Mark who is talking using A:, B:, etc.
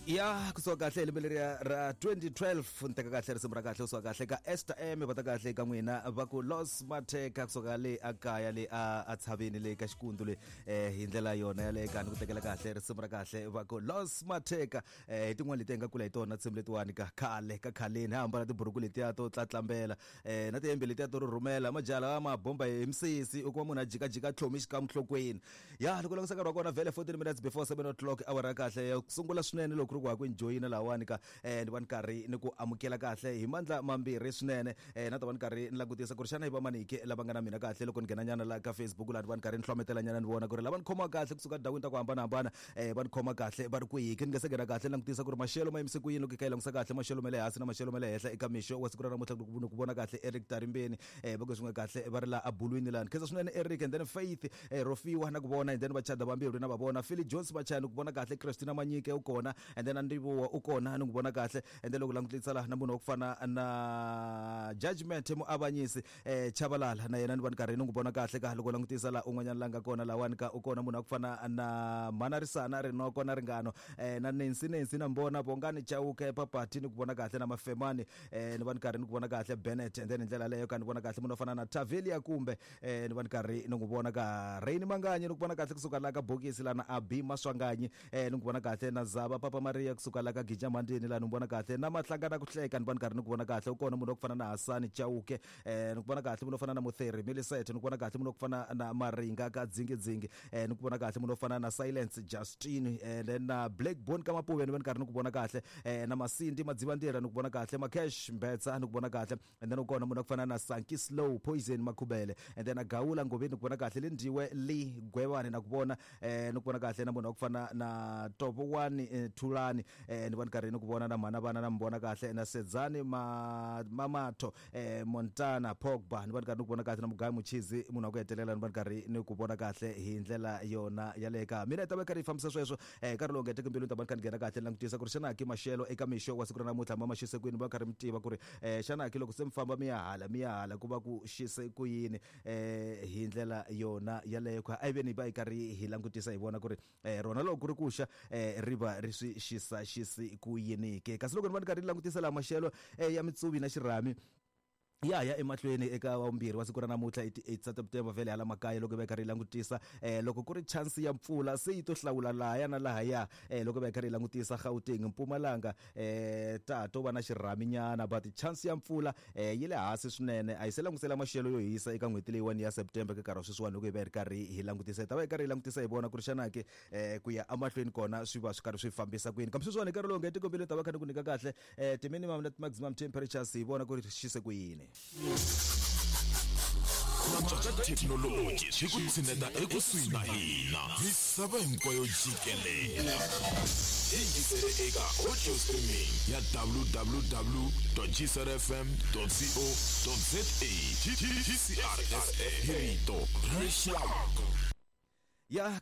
A: Ya kusuka kahle hi lembe leriya ra 2012, ni teka kahle risimu ra kahle kusuka kahle ka Esther M, va ta kahle ka n'wina va ku Los Matheka, kusuka le a kaya le a tshaveni le ka xikundu le. Hi ndlela yona yaleyo ka ni ku tekela kahle risimu ra kahle va ku Los Matheka. Hi tin'wana leti hi nga kula hi tona tinsimu letiwani ka khale ka khaleni, ha ambala tiburuku letiya to tlatlambela na tihembe letiya to rhurhumela, majaha lawa ma bomba hi misisi, u kuma munhu a jikajika tlhomi xikan'we nhlokweni. Ya loko langutisa nkarhi wa kona vhele 14 minutes before 7 o'clock, awara ya kahle ya ku sungula swinene loko ku ri ku ha ku enjoyina lahawani ka ni va ni karhi ni ku amukela kahle hi mandla mambirhi swinene. Na ta va ni karhi ni langutisa ku ri xana i vamanike lava nga na mina kahle loko ni nghena nyana la ka Facebook laha, ni va ni karhi ni hlometela nyana ni vona ku ri lava ni khomiwa kahle kusuka tindhawini ta ku hambanahambana va ni khoma kahle va ri kwihi ke. Ni nga se nghena kahle ni langutisa ku ri maxelo ma yimise ku yini. Loko hi kha hi langutisa kahle maxelo ma le hansi na maxelo ma le henhla eka mixo wa siku ra namuntlha, ni ku vona kahle Eric Tarimbeni va ku swin'we kahle va ri laha abulwini laha, ni khensa swinene Eric. And then Faith Rofiwa na ku vona, and then vachada vambirhi na va vona, Philly Jones Machaya ni ku vona kahle, Christina Manyike u kona, and then Andivuwa u kona, ni ku vona kahle. And then loko langutisa laha na munhu wa ku fana na Judgment Muavanyisi Chavalala, na yena ni va ni karhi ni n'wi vona kahle ka. Loko langutisa laha un'wanyana la nga kona lahawani ka, u kona munhu wa ku fana na Mhanarisana Rinoko na Ringano na Nancy, Nancy na Mbona Bongani Chauke Papati, ni ku vona kahle na Mafemani ni va ni karhi ni ku vona kahle Bennett. And then hi ndlela leyo ka ni vona kahle munhu wo fana na Tavelia kumbe ni va ni karhi ni n'wi vona ka Raini Manganyi, ni ku vona kahle kusuka la ka bokisi la na Abi Maswanganyi ni ku vona kahle na Zava Papa Maria kusuka la ka Gija Mandini la, ni n'wi vona kahle na Mahlanga na ku hleka, ni va ni karhi ni ku vona kahle. U kona munhu wa ku fana na Hasani Chauke ni ku vona kahle, munhu wo fana na Mutheri Millicent, ni ku vona kahle munhu wa ku fana na Maringa ka Dzingidzingi ni ku vona kahle munhu wo fana na Silence Justin then na Black Bone ka Mapuve, ni va ni karhi ni ku vona kahle na Masindi Madzivandlela, ni ku vona kahle Makesh Mbetsa, ni ku vona kahle. And then u kona munhu wa ku fana na Sanki Slow Poison Makhubele, and then Gawula Ngoveni, ni ku vona kahle Lindiwe Lee Gwevani, na ku vona ni ku vona kahle na munhu wa ku fana na Tovowani Thulani ni va ni karhi ni ku vona na mhana vana na mi vona kahle na Sedzani Mamatho Montana Pogba, ni va ni karhi ni ku vona kahle na Mugayi Muchizi, munhu wa ku hetelela ni va ni karhi ni ku vona kahle hi ndlela yona yaleyo ka mina. Hi ta va karhi hi fambisa sweswo nkarhi lowu nga heteki mbilu, ni ta va ni kha ni nghena kahle ni langutisa ku ri xana ki maxelo eka mixo wa siku ra namuntlha ma xise kwini. Va karhi mi tiva ku ri xana ki loko se mi famba mi ya hala mi ya hala ku va ku xise ku yini hi ndlela yona yaleyo kha. A yi veni hi va hi karhi hi langutisa hi vona ku ri rona loko ku ri ku xa ri va ri swi xisa xisi ku yini ke. Kasi loko ni va ni karhi ni langutisa laha maxelo ya mitsuvi na xirhami ya ya emahlweni eka wa vumbirhi wa siku ra namuntlha hi ti-8 ta September, vhele hala makaya loko hi va hi karhi hi langutisa loko ku ri chance ya mpfula se yi to hlawula lahaya na lahaya loko hi va hi karhi hi langutisa Gauteng, Mpumalanga ta to va na xirhaminyana, but chance ya mpfula yi le hansi swinene. A hi se langutisela maxelo yo hisa eka n'hweti leyiwani ya September. Ka nkarhi wa sweswiwani loko hi va hi ri karhi hi langutisa, hi ta va hi karhi hi langutisa hi vona ku ri xana ke ku ya emahlweni kona swi va swi karhi swi fambisa ku yini. Kambe sweswiwani hi nkarhi lowu nga etikombeni ta va kha ni ku nyika kahle ti-minimum na ti-maximum temperatures, hi vona ku ri xise ku yini.
B: Ku antswa ka thekinoloji swi ku tshineta ekusuhi na hina misava hinkwayo jikelele. Yingisele eka audio streaming ya www.gcrfm.co.za. GCRSA, hi rito ra rixaka.
A: Ya.